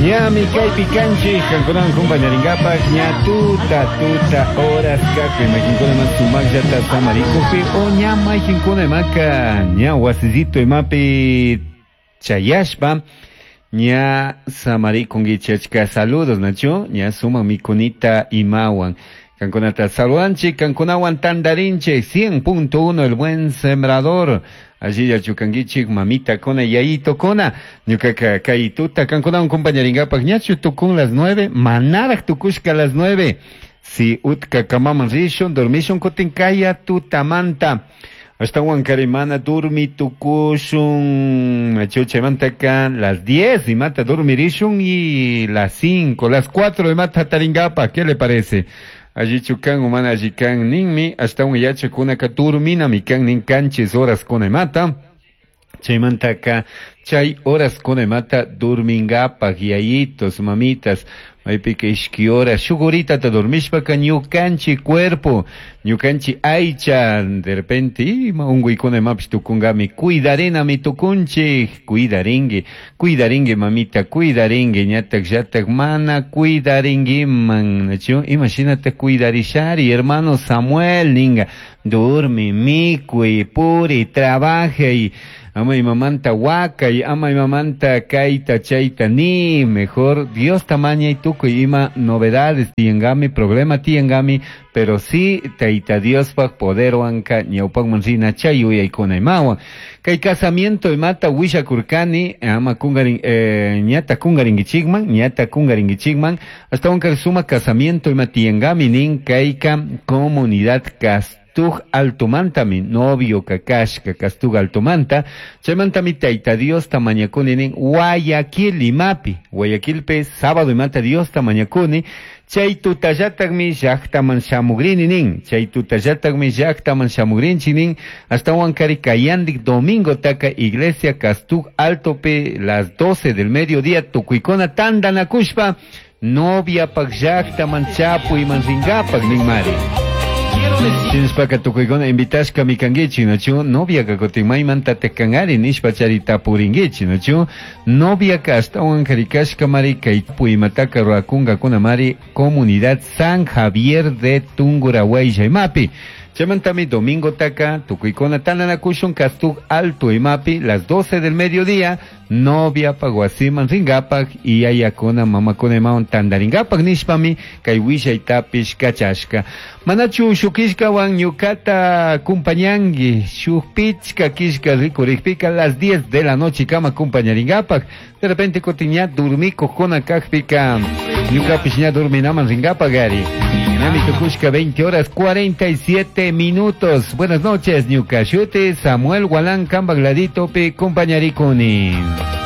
Ñami kaypi kanchik kankunawan kumpañarinkapak ña tuta tuta horas kakpi mayqinkunaman sumaqllata samarikuqpi o ña mayqinkuna imaka ña wasillito imapi chayashpa ña samarikunkichik achka saludos nachu ña sumaq mikunita imawan kankunata saludanchik kankunawan tantarinchik 100.1 El Buen Sembrador. Allillachu kankichik mamitakuna yayitokuna ñukaka kay tuta kankunawan compañarinkapak ñachu tukun las 9 manaraq tukushka las 9 si utka kamaman rishun dormishun kutin kaya tutamanta. Ashtawan kari mana durmi tukushun. Nachu chaymantaka las 10 imata dormirishun y las 5 las 4 imata hataringapa. ¿Qué le parece? Allichu kan o mana alli kan ninmi ashtawan yachakunaka durminami kan nin kanchis horas kuna imata. Chaymantaka chay horas kuna imata durmingapak yayitos mamitas maypika ishki horas shuk horitata dormishpaka ñukanchik cuerpo ñukanchik aycha de repente ima unkuykuna imapish tukunkami cuidarinami tukunchik cuidarinki cuidarinki mamita cuidarinki ñatak llatak mana cuidarinkiman nachu imashinata cuidarishari hermano Samuel ninga durmi mikuy puri trabajay ama imamanta wakay ama imamanta kayta chayta ni mejor Dios tamañay tukuy ima novedades tiyankami problema tiyankami pero sí tayta Diospaj poderwanka ñawpakman rina chay yuyaykuna imawan kay casamiento imata willakurkani ama kungarin ñata kungarinkichikman ñata kungarinkichikman ashtawanka sumak casamiento ima tiyankami nin kayka comunidad Castug Altomantami novio kakashka Castug Altomanta chaymantami tayta Diosta mañakuni nin Guayaquil imapi Guayaquilpi sábado imata Diosta mañakuni chay tutallataqmi llaqtaman shamugrini nin chay tutallataqmi llaqtaman shamugrinchik nin ashtawan kari kayandik domingo taka iglesia Castug Altopi las 12 del mediodía tukuykuna tantanakushpa noviapaq llaqtaman chapuyman rinkapak ninmari. Shinashpaka tukuykuna invitashkami kankichik nachu noviaka kutin maymantatak kankari nishpa chari tapurinkichik nachu noviaka ashtawan kari kashkamari kay imataka rurakunkakunamari comunidad San Javier de Tungurahua imapi. Chaymantami domingo taka tukuykuna tantanakushun Castug Alto imapi las 12 del mediodía noviapaq wasiman rinkapak y yayakuna mamakuna imawan tantarinkapak nishpami kay willaytapish kachashka. Manachu shuk killkawan ñukata kumpañanki shuk pichka killka rikurikpika las 10 de la noche kama kumpañarinkapak de repente kutin ña durmikukuna kakpika ñukapish ña durminaman rinkapak ari. Ñami tukushka 20 horas 47 minutos. Buenas noches, ñuka shuti Samuel Gualán Kambagladito pi kumpañarikuni.